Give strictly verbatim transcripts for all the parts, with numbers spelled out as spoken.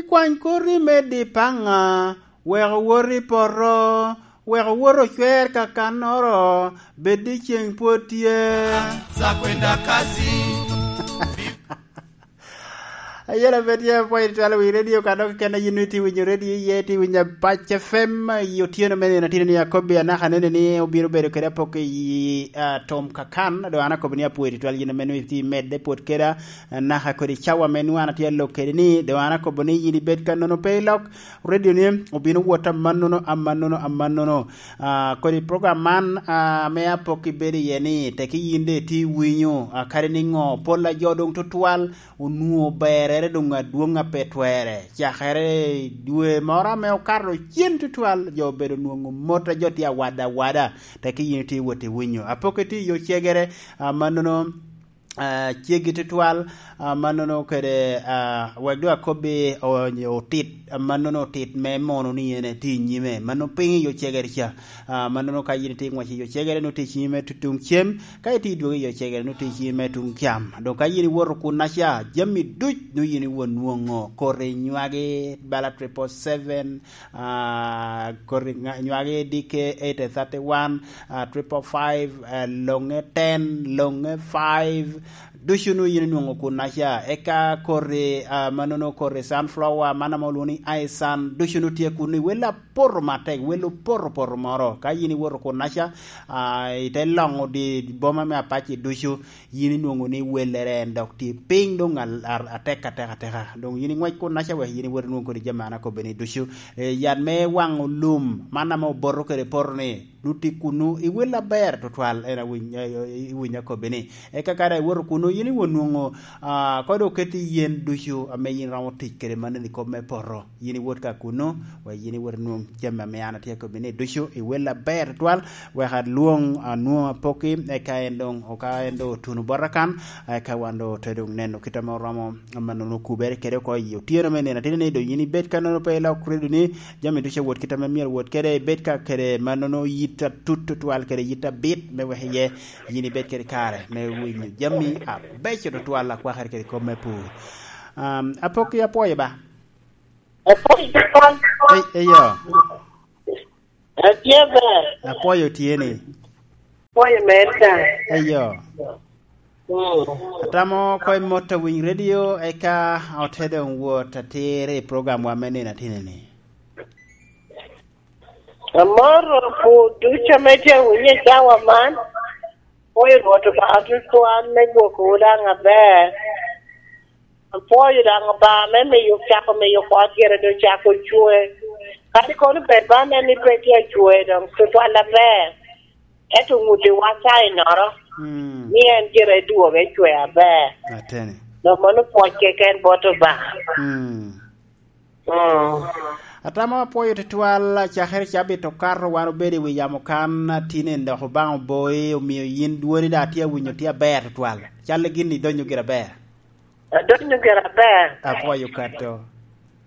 Kwany koti me di paŋa, wek owot i poto, wek owot ocwer kakannoro, bed ni ceŋ pwod tye. Zakwenda kasi. Ayela bed ya pwony twal wi radio ka dok kena yin iti winyo radio iye, iti winyo Pac F M, i otyeno me nino tino ni akobi anaka nene ni obiro bedo kede apok i, ah, tom kakan, do an akobo ni apwony twal yin ame niti medde pwod keda, anaka kodi cawa me nwan atye alok kede ni, do an akobo ni yin ibed ka nono pe ilok radio ni, obino wot amannono, amannono, amannono. Ah, kodi program man, ah, ame apok ibedo iye ni, teki yin de iti winyo, ah, kadi ni ŋo, pol a jo doŋ tutwal, onwoŋo berrere doŋ adwoŋ a pe twere. Cakere i dwe moro ame okato cen tutwal, jo obedo nwoŋo mot a jo tye awada awada, teki yin itye wot i winyo. Apok itye i yo cegere, ah, mannono, ah, ceggi tutwal, ah, mannono kede, ah, wek doŋ akobbi o-, otit, ah, mannono otit me mono ni en etye i nyime. Mano piny i yo cegere ca. Ah, mannono ka yin itye i ŋwec i yo cegere, nut i cinyi me tu-, tuŋ cem, ka itye i dwogo i yo cegere, nut i cinyi me tuŋ cam. Doŋ ka yin iwoto kunnaca, jami duc nwoŋo yin iwot nwoŋo. Koti nywagi bala triple seven, ah, koti ŋa-, nywagi D K eight thirty-one, ah, triple five, ah, loŋe ten, loŋe five, ducu nwoŋo yin inwoŋo kunnaca. Eka koti, ah, mannono koti sunflower, man ame olwoŋo ni aisan, ducu nwoŋo tye kunnu i wel apoto matek, wel opoto poto moro. Ka yin iwoto kunnaca, ah, ite loŋo di boma me Apaci ducu, yin inwoŋo ni wellere en dok tye piny doŋ al-, ar-, atek atek ateka. Doŋ yin iŋwec kunnaca wek yin iwot inwoŋ kodi jami an akobbe ni ducu. Eh, yat me waŋo lum, man ame oboto kede poto ni, nut i kunnu, iwel aber tutwal, en awiny, eh, eh, iwiny akobbe ni. Eka ka daŋ iwoto kunnu, yin iwot nwoŋo, ah, kodo oketi yen ducu ame yin romo tic kede mannono i kop me poto. Yin iwot ka kunnu, wek yin iwot inwoŋ jami ame an atye akobbi ni ducu, iwel aber tutwal, wek alwoŋ, anwoŋ apokki, eka en doŋ, oka en doŋ otuno bota kan, eka wan doŋ ote doŋ neno kit ame oromo mannono kubere kede oko i otyeno me nino atino ni doŋ yin ibed ka nono pe ilok redo ni jami ducu awot kit ame myero wot kede, ibed ka kede mannono yit atut tutwal kede yit abit me wek iye yin ibed kede kare me winyo jami abeco tutwal akwakere kede kop me pur. Um, apokki apwoyo ba. Apwoyo tutwal. Ei, eyo. Atye ber. Apwoyo tye ni. Apwoyo mer ka. Eyo. Mm. Atamo ko imot awiny radio, eka ote doŋ wot atir i program wa me nino atini ni. Amoro pur ducu ame tye awinyo i cawa man. Apwoyo Rwot Obaŋa tutwal me gwoko daŋ aber. Apwoyo daŋ Obaŋa me miyo, cako miyo kot gire doŋ cako cwe. Kadi kono bed ba nen ni pe tye acwe doŋ tutwal aber, ento ŋuttiwa cainoro, mm, ni en gire dwogo ecwe aber. Ateni. Dok mano pwoc keken bot Obaŋa. Mm. Mm. Atamo apwoyo tutwal, cakere cabit okato, wan obedo i wi yamo kan, atinen dok Obaŋa oboyi, omio yin dwoni daŋ atye awinyo tye aber tutwal. Cal gin idonyo gire aber. Adonyo gire aber. Apwoyo kato.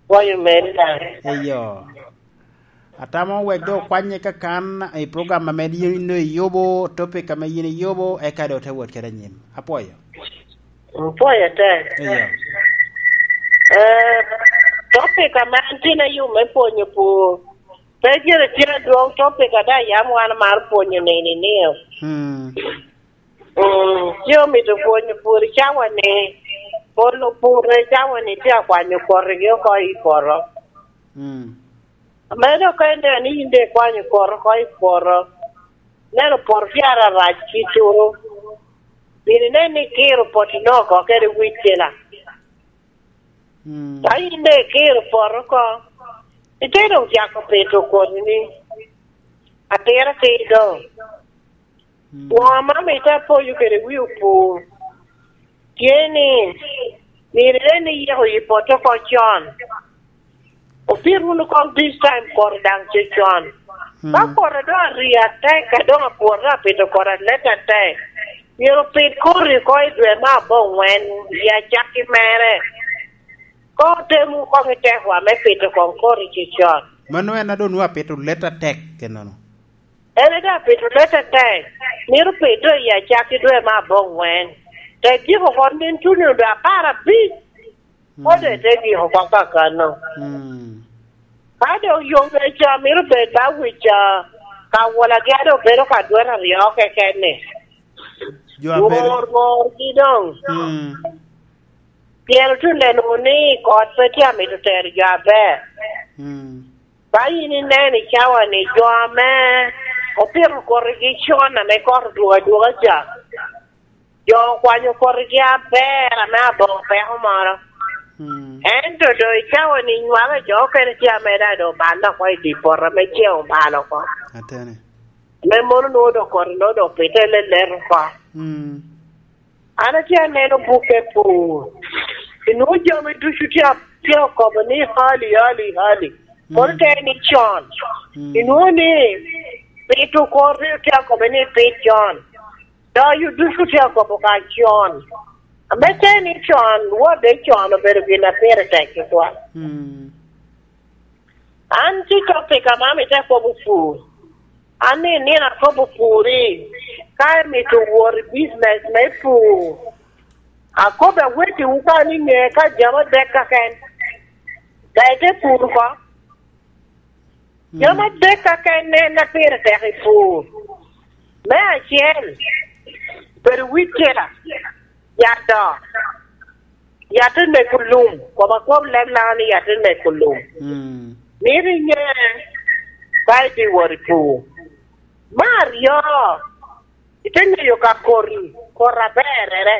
Pwoyo meri daŋ. Eyo. Atamo wek doŋ okwanye kakan i program ame yin doŋ iyubo, topic ame yin iyubo, eka doŋ te wot kede anyim. Apwoyo. Apwoyo te. Eyo. Eh, topic ame an tin ayubo me pwonyo pur. Pe gire tye adwoŋ topic a daŋ yam wan amaro pwonyo nini ni. Hmm. Mm, ci omito pwonyo pur i cawa ni, polo pur i cawa ni tye akwanyo koti gi oko i poto. Mm. Ame dok ka ineno ni in de ikwanyo koti oko i poto, neno poto tye arac kituru. Bino inen ni ikiro poti no oko kede wic cila. Mm. Ka in de ikiro poto oko, ite doŋ cako pito koti ni, atira ki doŋ. Mm. Won amito apoyo kede wi opur. Tye ni, myero inen ni iyiko yi poto oko con. Opit wunu koŋ this time koti daŋ cecon. Mm. Ka koti doŋ arii atek, a doŋ apwot doŋ apito koti alet atek, myero opit koti oko i dwe me aboŋwen, i acakki mere. Koŋ otem wunu koŋ i tekwa me pito koŋ koti cecon. Mano en a doŋ nwoŋo apito let atek, ennono. En a doŋ apito let atek, myero opit doŋ i acakki dwe me aboŋwen. Te tyeko oko nin tuno doŋ apar abic. Kode te giko kop kakano. Mm. Ka dok yom ca mito bed ba wic ca, ka wolagi a dok bedo ka dwete aryo keken-ni. Jo a pe ri- Wor, worgi doŋ. Mm. Pien otye neno ni kot pe tye amito tero jo aber. Mm. Ka yin ineno i cawa-ni, jo ame opito koti gi con ame kot odwogo adwoga ca, jo okwanyo koti gi aber ame aboŋo peko moro. Mm. Ento doŋ i cawa-ni nywako jo okene tye ame daŋ doŋ obalo oko i dye poto ame ceng obalo oko. Atene. Me mono nwoŋo doŋ koti nwoŋo doŋ pite lelet oko. Mm. An atye aneno bukke pur. Inwoŋo jami ducu tye a-, tye okobo ni hali, hali, hali. Kono te ni con. Mm. Inwoŋo ni pito kor rik tye okobo ni pit con. Doyo ducu tye okobo ka con. Ame te ni con, wode con obedo gin a pire tek tutwal. Mm. An tye topic ame amito akobo pur. An ni nino akobo pur i, ka imito wot i business me pur, akobo awetiwu ka ni ŋe ka jami adek keken, ka ite pur oko. Jami adek keken en a pire tek i pur. Me acel, bedo wicca, yat dok. Yat te neko lum, kom akob leb Laŋo ni yat te neko lum. Mm. Mito iŋe ka ibi wot i pur. Me aryo, ite ŋeyo ka koti, koti aberrere.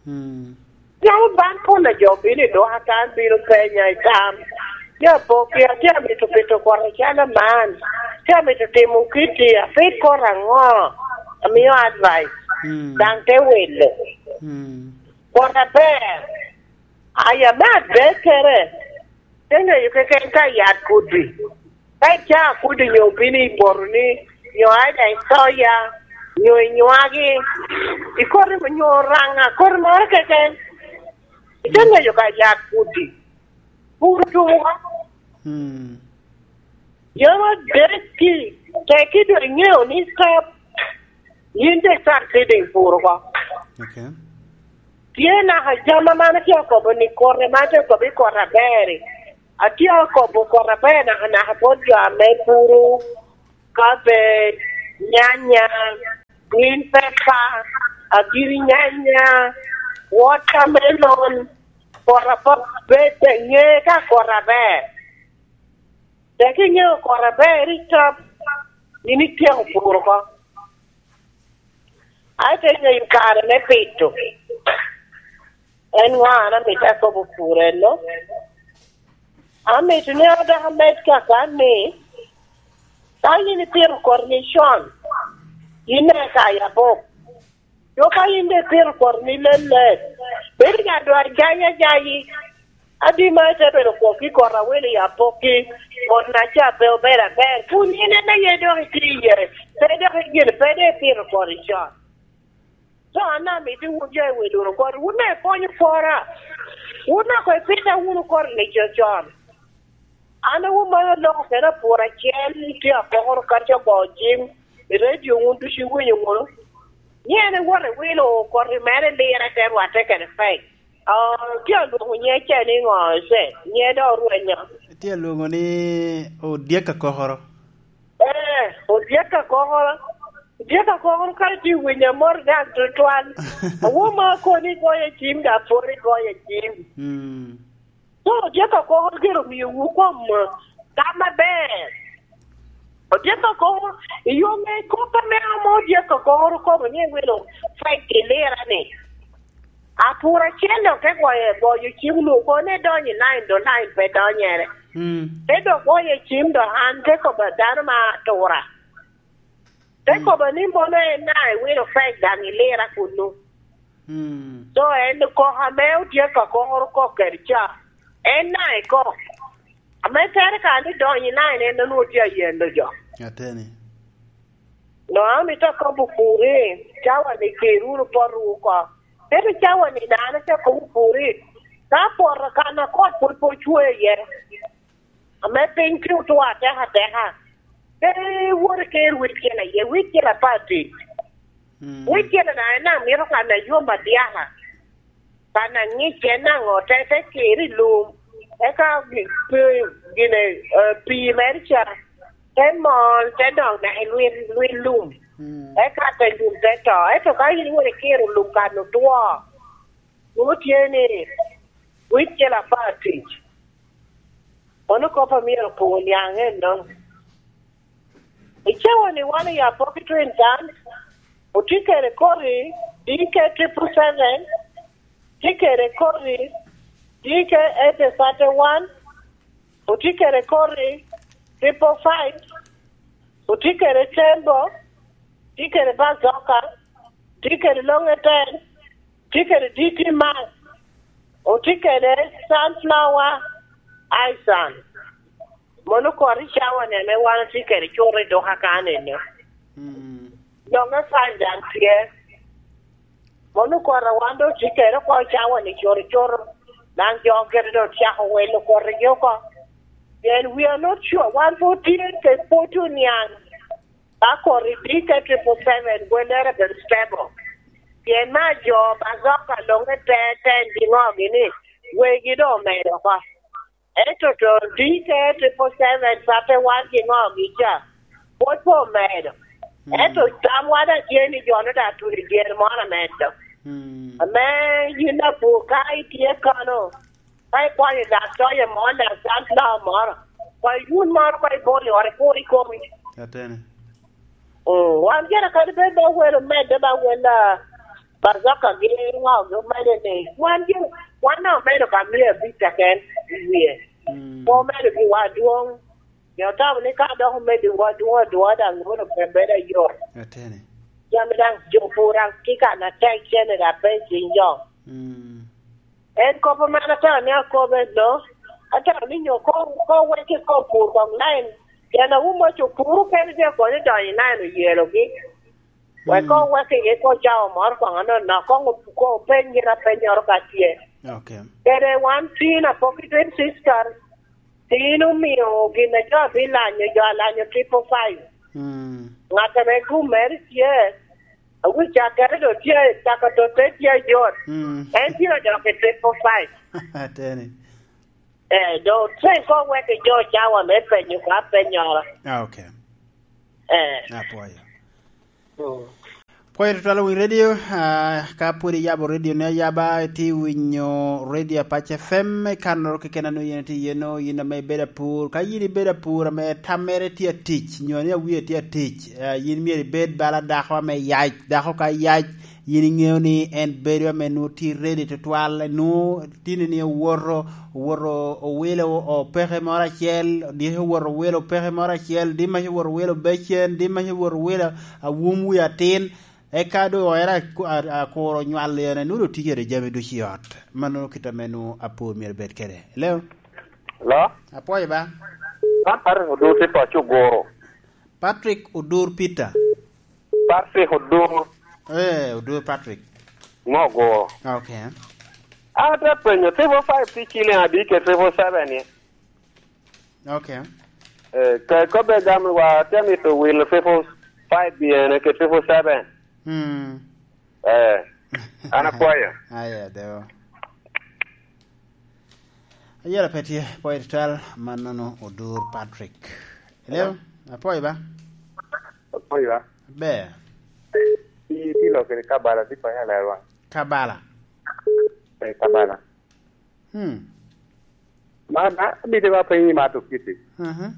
Mm. Yam ban pol a jo bino i duka kan, bino penya i tam. Tye apokki, atye amito pito koti acalo man. Tye amito timo kitti, apit koti aŋo? Amio advice. Mm. Daŋ te wilo. Mm. Koti aber. Aya me adekere, te ŋeyo keken ka yat kudi. Ka icaa kudi nyo obino i botoni, nyo aida i soya, nyo i nywagi, i koti nyo raŋa, koti moro keken. Ite ŋeyo ka yat kudi. Pur tumo. Mm. Jami adek-ki, tekki doŋ iŋeo ni stop, yin doŋ start feeding pur oko. Okay. Tye naka jami ame an atye akobo ni koti, ame atye akobo i koti aber-ri. Atye akobo koti aber nakanaka bot jo ame puro cabbage, nyanya, green pepper, agiri nyanya, watermelon, koti aber, ŋe ka koti aber. Tek iŋeo koti aber i tap, yin ityeko pur oko. Aye te ŋeyo kare me pito. En ŋo an amito akobo pur eno? Amito ni adok amed kaka ni, ka yin ipito koti ni con, yin eka yabok. Jo ka yin daŋ ipito koti ni lelet, bedo ka dwa jayi ajayi. Adi ma ite bedo kwok i koti awelo i apokki, koti na ca pe obedo aber, kun yin en aye dok itye iye, pe dok igin, pe dok ipito koti con. So an amito wun jo i wi Luro koti, wun daŋ ikonyo kora, wun daŋ koŋ ipita wunu koti ni con con. An awomo aloko kede apur acel, tye akokoro kato ogo cim i redio, wun ducu iwinyo wunu. Ni en iwoto iwilo koti mere lire te rwatte kede pec. Oh, tye alwongo nye ca ni ŋo, ce? Nye dok orwenyo. Tye alwongo ni Odyek Akokoro. Eh, Odyek Akokoro. Odyek Akokoro ka tye winyo amor gang tutwal. Awomo akoni goyo cim, da pwod igoyo cim. Mm. So, odyek akokoro gire omiowu kom tam aber. Odyek akokoro, i yo me kop ame amo odyek akokoro kobo ni ewelo fek i lira ni. Apur acel dok te goyo, goyo cim nu, kone donyo i line, do line pe donyere. Mm. Te dok goyo cim do an te kobo dano ma atura. Te kobo ni mono en na ewilo fek daŋ i lira kunu. Mm. So en kok ame odyek akokoro kok kede ca, en na ikok. Ame tere ka ni donyo i line en onwoŋo tye ayendo jo. Ateni. No, amito akobo pur i cawa ni ker wunu poto oko. Ento cawa ni dano te kobo pur i ka poto kan a kot pwod pe ocwe iye. Ame piny tye otwo ateka ateka. Pe wot iker wicel aye, wicel apar tic. Mm. Wicel daŋ en amito kan a yom adyaka. Kan aŋic en aŋo, te, te kir i lum, eka gi-, pi-, gine, eh, pii mere ca, te mol, te dok dok i lwil, lwil lum. Mm. Eka te lum te to. Ento ka in iwot ikiro lum kan otwo, nwoŋo tye ni wik cel apar tic. Mano kop a myero opwony niaŋ eno. I cawa ni wan i Apoki Twin Town, otye kede koti D K triple seven, tye kede koti D K eight thirty-one, otye kede koti triple five, otye kede Tembo, tye kede Bazoka, tye kede Longe Ten, tye kede D T Max, otye kede Sunflower Ison. Mono koti cawa ni ame wan otye kede cuto i duka kan eno. Mm. Longe Five daŋ tye. Mono koti a wan doŋ otye kede oko cawa ni cuto cuto. Daŋ jo kede doŋ cako wilo kotigi oko. Pien we are not sure. Wan pwod tye kede pwod tye oniaŋ. Ka koti D K triple seven gwellere bedo stable. Pien me ajo Bazoka Longe Ten, Ten giŋogi ni wegi doŋ omedo oko. Ento to D K triple seven thirty-one giŋogi ca, pwod pe omedo. Mm. Ento tamwa daŋ tye ni jo-nu daŋ tuno i dyere moro amedo. Mm. Ame yin apur ka itye kano, ka ikwanyo daŋ toye moro, daŋ sunflower moro, kwa yun moro, kwa ibolo i ot, ikur i komi. Atene. Mm, wan gire kadi bed ba welo medde, ba welo, ah, Bazoka gi ŋo gi omedde ni, wan gire, wan daŋ omedo ka mia abic keken i wie. Mm. Pe omedo giwa adwoŋ. Pien otamo ni ka dok omedo wa adwoŋ adwoŋ, daŋ mono pe bedo ayot. Atene. Jami daŋ jo pur daŋ tye kan atek, cene daŋ pe i cing jo. Mm. En kop ame an atamo ni akobo en no, atamo ni nyo ko, ko wek iko pur kong line, pien awumo co pur okene tye konyo donyo i line oyelogi. Wek ko wek iye ko cawa moro kong anonok, kong op-, ko openy gin apennyoro ka tye. Okay. Kede wan tin Apoki Twin Sisters, tin omio gin a jo abilanyo, jo alanyo triple five. Mm. Ŋat ame gum mere tye, awi cakere do tye, caka to te tye ayot. Mm. En tye odok i triple five. Ateni. Eh, do tren ko wek i jo cawa me penyo ka pennyoro. Ah, okay. Eh. Apwoyo. Mm. Pwoyo tutwal owiny radio, ah, ka pwod iyabo radio ni ayaba, itye winyo radio Apac F M, i kannoro keken a nongo yen itye iye no, yin ame ibedo apur. Ka yin ibedo apur ame tammere tye atic, nyo ni awie tye atic, ah, yin myero ibed bala dako ame yac. Dako ka yac, yin iŋeo ni en bedo ame nwoŋo tye ready tutwal, nwoŋo tini ni owoto, owoto owilo opeke moro acel, diki owoto owilo opeke moro acel, dimac owoto owilo becen, dimac owoto owilo awum wi atin, eka doŋ ero aku-, a-, akuro nywal en, nwoŋo doŋ tye kede jami ducu i ot. Mano kit ame nwoŋo apur myero bed kede. Hello? Hello? Apwoyo ba? Man Patrick Odur tye paco Goro. Patrick Odur Peter. Patrick Odur. Eh, Odur Patrick. Ŋo Goro? Okay. An atye apenyo, triple five tye ciliŋ adi kede triple seven ni? Okay. Eh, ka kobbe gam wa, atye amito wilo triple five byene kede triple seven. Hmm. Eh, an apwoyo. Aya, deo. Ayera pe tye, pwoyo tutwal, mannono Odur Patrick. Hello? Hello? Apwoyo ba? Apwoyo ba? Ber. Ti, ti lokere Kabala, ti panya lerwa. Kabala? Eh, Kabala. Hmm. Ma, ma, abide ba penyi ma to kiti. Mhm.